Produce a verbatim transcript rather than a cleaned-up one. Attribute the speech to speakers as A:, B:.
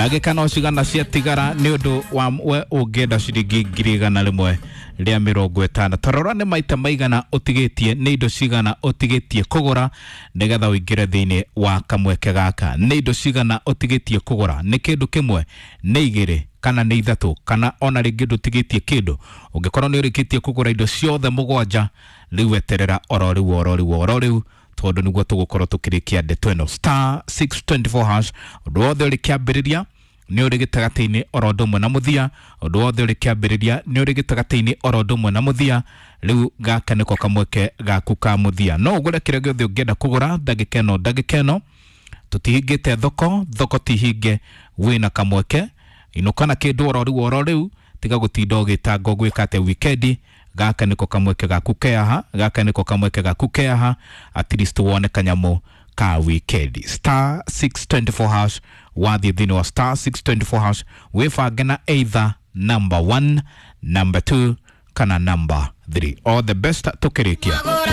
A: Ndagĩka no cigana ciatigara nĩ ũndũ wa we ũngĩenda ciringi ngiri igana rĩmwe rĩa mĩrongo ĩtano. Tarora nĩ maita maigana ũtigĩtie, nĩ indo cigana ũtigĩtie kũgũra nĩgetha ũingĩre thĩinĩ wa kamweke gaka. Nĩ indo cigana ũtigĩtie kũgũra, nĩ kĩndũ kĩmwe, nĩ igĩrĩ kana nĩ ithatũ, kana ona rĩngĩ ndũtigĩtie kĩndũ. Ũngĩkorwo nĩ ũrĩkĩtie kũgũra indo ciothe mũgwanja, rĩu eterera oro rĩu oro rĩu oro rĩu, tondũ nĩguo tũgũkorwo tũkĩrĩkia ndeto ĩno. Star six twenty four hash, ũndũ wothe ũrĩ kĩambĩrĩria nĩ ũrĩ gĩtagatĩ-inĩ oro ũndũ ũmwe na mũthia, ũndũ wothe ũrĩ kĩambĩrĩria nĩ ũrĩ gĩtagatĩ-inĩ oro ũndũ ũmwe na mũthia. Rĩu gaka nĩko kamweke gaku ka mũthia, no ũgũre kĩrĩa gĩothe ũngĩenda kũgũra ndagĩka ĩno ndagĩka ĩno. Tũtihingĩte thoko, thoko ti hinge, wĩna kamweke inũka na kĩndũ oro rĩu oro rĩu, tiga gũtinda ũgĩtanga ũgwĩka atĩa wikendi. Gaka nĩko kamweke gaku keaha, gaka nĩko kamweke gaku keaha, at least wone kanyamũ ka wikendi. Star six twenty four hash, wathiĩ thĩinĩ wa star six twenty four hash wĩbange na either number one, number two kana number three. All the best tũkĩrĩkia.